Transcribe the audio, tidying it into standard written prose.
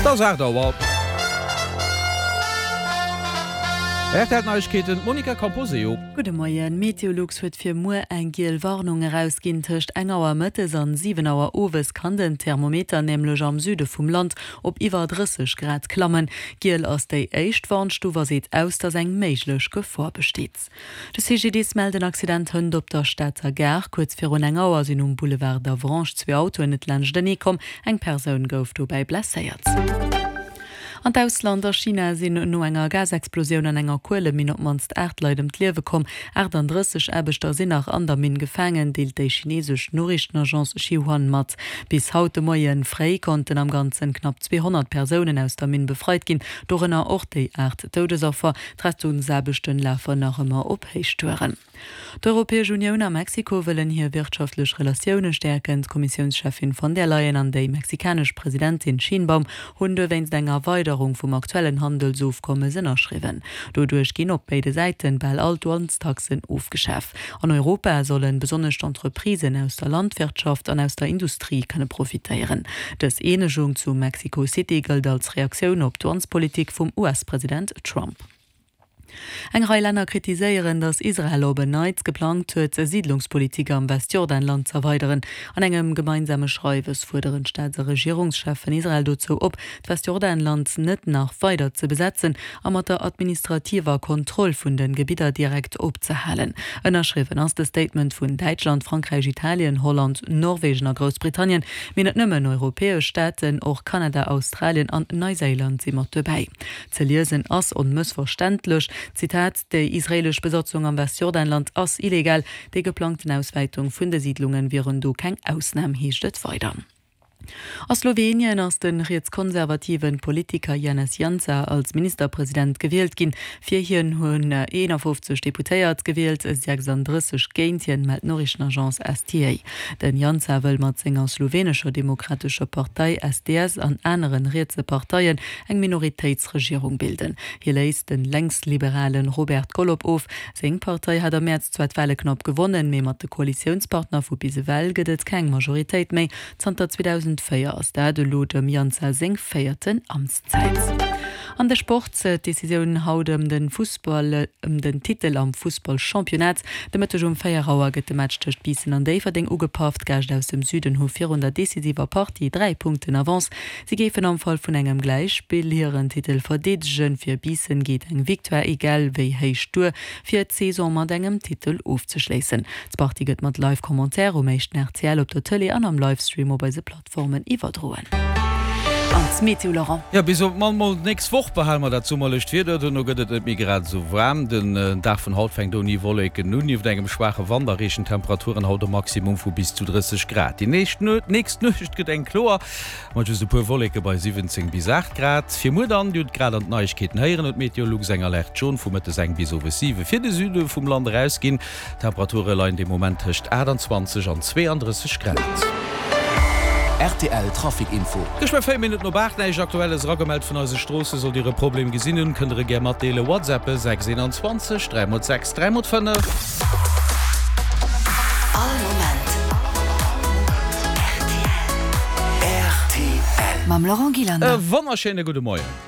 Et ass 8 Auer. Rtl Neiegkeeten, d'Monica Camposeo. Gudde Moien. Meteolux huet fir muer eng giel Warnung erausginn. Tëscht eng Auer mëttes an 7 Auer owes kann den Thermometer nämlech am Süde vum Land op iwwer 30 Grad klammen. Giel ass déi éischt Warnstuf a seet aus, dass eng méiglech Gefor besteet. De CGDIS mellt en Accident hënt op der Stater Gare. Kuerz virun eng Auer sinn um Boulevard d'Avranches zwee Autoen net laanschtenee komm. Eng Persoun gouf dobäi blesséiert. An d'Ausland, A China sinn no enger Gasexplosioun an enger Kueleminn op d'mannst 8 Leit ëm d'Liewe komm. 38 Aarbechter sinn nach an der Minn gefaangen, deelt déi chineesesch Noriichtenagence Xinhua mat. Bis haut de Moie fréi konnten am Ganzen knapp 200 Persounen aus der Minn befreit ginn, dorënner och déi 8 Doudesaffer. D'Rettungsaarbechten lafen nach ëmmer op Héichtouren. D'Europäesch Unioun a Mexiko wëllen hir wirtschaftlech Relatioune stäerken. D'Kommissiounscheffin von der Leyen an déi mexikanesch Presidentin Sheinbaum hunn dowéinst eng Erweiderung vum aktuellen Handelsofkommes ënnerschriwwen. Doduerch ginn op béide Säiten bal all d'Douanestaxen ofgeschaf. An Europa sollen besonnesch d'Entreprisen aus der Landwirtschaft an aus der Industrie kënne profitéieren. Dës Eenegung zu Mexico City gëllt als Reaktioun op d'Douanespolitik vum US-President Trump. Eng Rei Länner kritiséieren, datt Israel op en Neits geplangt huet, Siidlungspolitik am Westjordanland z'erweideren. An engem gemeinsame Schreiwes fuerderen d'Staats a Regierungscheffen Israel dozou op, d'Westjordanland net nach weider ze besetzen a mat der administrativer Kontroll vun de Gebidder direkt opzehalen. Ënnerschriwwen ass de Statement vun Däitschland, Frankräich, Italien, Holland, Norwegen a Groussbritannien. Mee net nëmmen europäesch Staaten, och Kanada, Australien an Neiséiland si mat dobäi. Ze liesen ass onmëssverständlech, Zitat, Déi israeelesch Besatzung am Westjordanland ass illegal, déi geplangten Auswäitung vun de Siidlunge wieren do keng Ausnam, heescht et weider. A Slowenien ass de rietskonservative Politiker Janez Jansa als Ministerpresident gewielt ginn. Fir hien hunn 51 Deputéiert gewielt, 36 géint hien, mellt d'Noriichtenagence STA. Den Jansa wëll mat senger Slowenescher Demokratescher Partei, SDS, an anere rietse Parteien eng Minoritéitsregierung bilden. Hie léist de lenksliberale Robert Golob of. Seng Partei hat am Mäerz zwar d'Wale knapp gewonnen, mee mat de Koalitiounspartner vu bis ewell gëtt et keng Majoritéit méi. Zanter 2004 ass dat elo dem Jansa seng véierten Amtszäit. An de Sport, D'Decisioun haut ëm de Fussball ëm den Titel am Fussballchampionnat. De Mëtteg um 4 Auer gëtt de Match tëscht Biissen an Déifferdeng ugepaff. D'Gäscht aus dem Süden hu virun der decisiver Partie 3 Punkten Avance. Si géifen am Fall vun engem Gläichspill hiren Titel verdeedegen. Fir Biissen geet eng Victoire egal wéi héich duer, fir d'Saison mat engem Titel ofzeschléissen. D'Partie gëtt mat Live-Commentaire um éischten rtl op der Tëlee an am Livestream op eise Plattformen iwwerdroen. An d'Meteo, Laurent? Jo, bis op d'mannst mol d'nächst Woch behale mer dat summerlecht Wieder. Dono gëtt et net méi grad esou waarm. Den Dag vun haut fänkt ouni Wolleken un. Nieft engem schwaache Wand erreechen d'Temperaturen haut e Maximum vu bis zu 30 Grad. Déi nächst Nuecht gëtt eng kloer. Mat just e puer Wolleke bei 17 bis 8 Grad. Fir muer dann, Dir hutt grad an d'Neiegkeeten héieren, huet Meteolux eng Alerte jaune vu mëttes eng bis owes 7 fir de Süde vum Land erausginn. D'Temperature leien de Moment tëscht 28 an 32 Grad. Rtl Trafic Info. Geschwë 4 Minutten op 8, näischt Aktuelles eragemellt vun eise Stroosse. Sollt Dir e Problem gesinn hunn, kënnt der e gär matdeelen. WhatsAppe 6 21 3 x 6 3 x 5. All Moment rtl. E Mam Laurent Gillander. Wonnerschéine gudde Moien.